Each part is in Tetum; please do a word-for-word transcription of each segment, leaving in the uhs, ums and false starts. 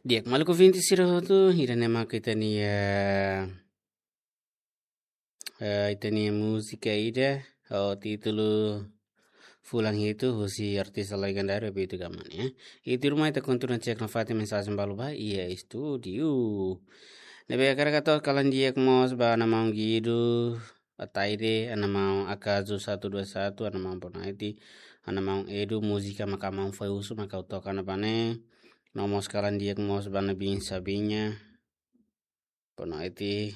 Di'ak, maluk ouvinte sira hotu, ida-ne'e mak ita-nia, eh, ita-nia múzika ida ho títulu Fulan Hitu, husi artista legendáriu Abito Gama nian. I tuirmai ita kontinua cek nafatin mensajen balu ba iha estúdiu. Ne'ebé hakarak atu kalan di'ak mós ba Ana Maun Guido, Ataide, Ana Maun Akazu satu dua satu, Ana Maun Bonaiti, Ana Maun Edu, múzika maka Maun Fai Husu maka ha'u toka ona ba ne'e. No mós kalan di'ak mós ba Ana Bin Sabinha, Bonaiti.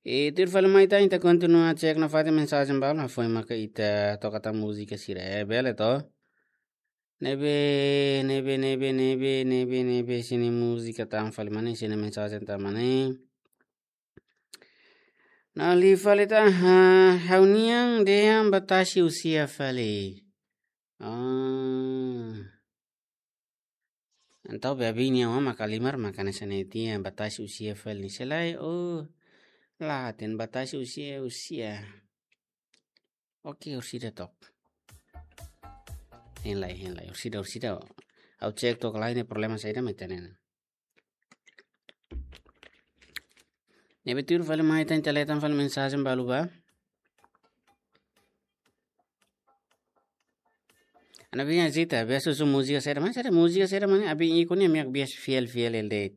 I tuir fali mai tan ita kontinua cek nafatin mensajen balu, hafoin maka ita toka tan múzika sira, eh, bele to? Ne'ebé, ne'ebé, ne'ebé, ne'ebé, ne'ebé, ne'ebé, sira-nia múzika tan fali mai ne'e, sira-nia mensajen tan mai ne'e. Nah, liu fali tan, ha, ha'u-nian dehan batasi usia fali. Ah. Entaun be abin nian maka halimar maka hanesan ne'e tiha batasi usia fali ne'e. Se lae, oh, la hatene batasi usia, usia. Oke, orsida took. Hein lai, hein lai, orsida, orsida. Ha'u cek took lai ne'e problema saida mak ita-nian. Ne'ebé tuir fali mai tan, ita lee tan fali mensajen balu ba. Ana Bin Azita, biasa husu múzika saida mak, saida múzika saida mak ne'e, abin ikun nian mak biasa fiel, fiel hela de'it.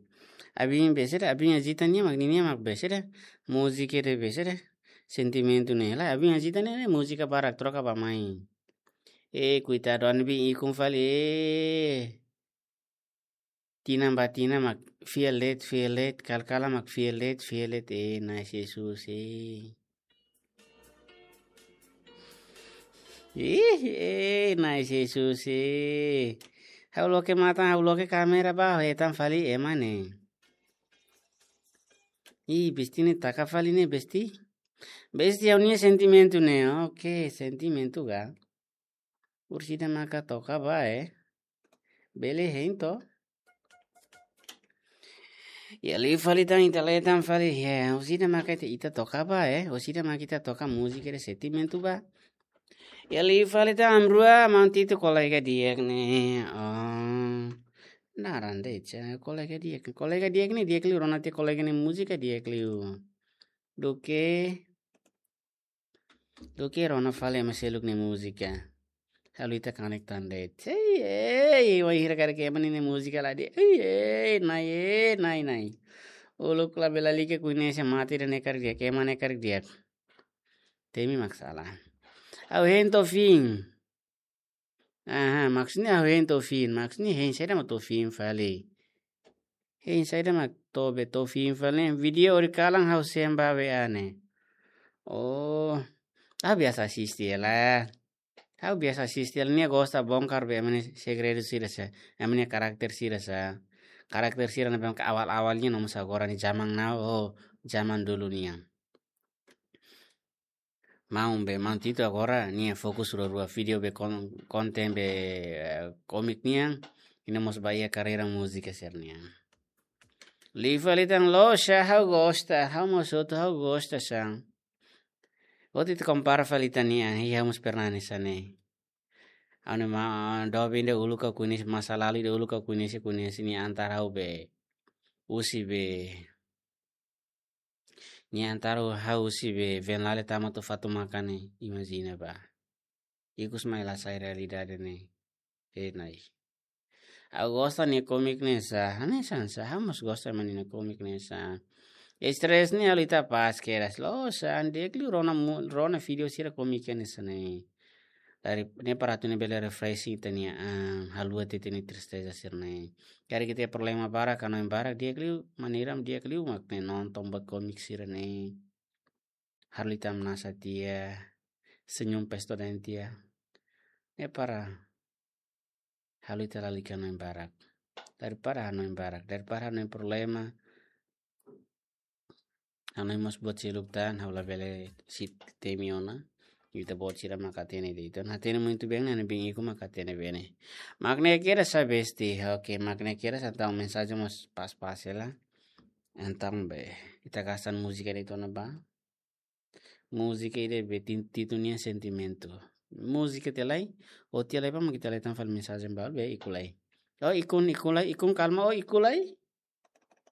Abin be saida, Ana Bin Azita nian mak, ninia mak be saida, múzika ida be saida, sentimentu ne'e. Lae, Ana Bin Azita ne'e, ne'e múzika barak troka ba mai. Eh, koitadu Ana Bin ikun fali, eh. Tinan ba tinan mak fiel de'it, fiel de'it, kalan-kalan mak fiel de'it, fiel de'it, eh, Na'i Jesus, eh. Ih, eh, Na'i Jesus, eh. Ha'u loke matan, ha'u loke kámera ba, hetan fali ema ne'e. Ih, besti ne'e taka fali ne'e, besti. Besti ha'u-nia sentimentu ne'e, oke, sentimentu ka. Orsida maka toka ba, eh. Bele hein to. Ya, liu fali tan, ita lee tan fali, ya, orsida maka ita, ita toka ba, eh. Orsida maka ita toka múzika ida sentimentu ba. Ya, liu fali tan, Amrua, Maun Tito kolega di'ak ne'e. Oh. Naran de'it, kolega di'ak. Kolega di'ak ne'e, di'ak liu, rona tiha kolega nia múzika di'ak liu. Duké Duké rona fali ema seluk nia múzika. Halo ita kanek tan de'it. Hei, hei, wainhira karik ema ninia múzika la di'ak. Hei, hei, Na'i, hei, Na'i, Na'i. Uluk labele lalika koñese mate ida ne'e karik di'ak, ema ne'e karik di'ak. Temi mak sala. Ha'u hein to'o fim. Aha, maksudnya ha'u hein to'o fim, maksudnya hein saida mak to'o fim fali. Hein saida mak to'o be to'o fim fali ne'e, vídeo ori kalan ha'u sembah be ane. Oh, ah, biasa asiste hela. Ha'u biasa asiste hela, nia gosta bongkar be ema nia segredu sira sa, ema nia karakter sira sa. Karakter sira ne'ebé ke awal-awal nian no mós agora nia, zaman now, oh, zaman dulu nian. Maun be, Maun Tito agora nia fokus rua-rua vídeo be kon-, konten be, eh, komik nian, i no mós ba iha karreira múzika sira-nian. Liu fali tan loos, ha'u gosta, ha'u mós hotu ha'u gosta sa. Hotu ita kompara fali tan nian, i ha'u mós pernah hanesan ne'e. Ha'u-nia ma-, doben ida uluk ha'u koñese, masa lalu ida uluk ha'u koñese, koñese nia antar ha'u be, husi be, nia antar ha'u husi be Venlale tama to'o Fatumaka ne'e, imajina ba. Ikus mai la sai realidade ne'e. Eh, Na'i. Ha'u gosta nia komik ne'e sa, hanesan sa, ha'u mós gosta ema nia komik ne'e sa. Estrés ne'e halo ita pás kedas, loos sa, di'ak liu rona mu-, rona vídeo sira komik ne'e sa ne'e. Dari ne'e para atu ne'e bele refreshing ita-nia an, haluha ita-nia tristeza sira-ne'e. Karik ita iha problema barak, hanoin barak, di'ak liu, maneira di'ak liu mak ne'e nonton buat komik sira-ne'e. Halo ita hamnasa tiha, senyum pesto daen tiha. Ne'e para halo ita lalika hanoin barak. Daripada hanoin barak, daripada hanoin problema, hanoin mós buat seluk tan, ha'u labele sei temi ona. Ita-boot sira mak hatene de'it ona. Hatene muito bem, ne'e Ana Bin ikun mak hatene bene. Mak ne'e kedas sa besti, oke, mak ne'e kedas sa, entaun mensajen mós pas-pas hela. Entaun be, ita gasta múzika de'it ona ba. Múzika ida be tin-, títulu nian sentimentu. Múzika tiha lai, o tiha lai pa mak ita lee tan fali mensajen balu be ikus lai. Ó ikun, ikun lai, ikun kalma, ó ikun lai.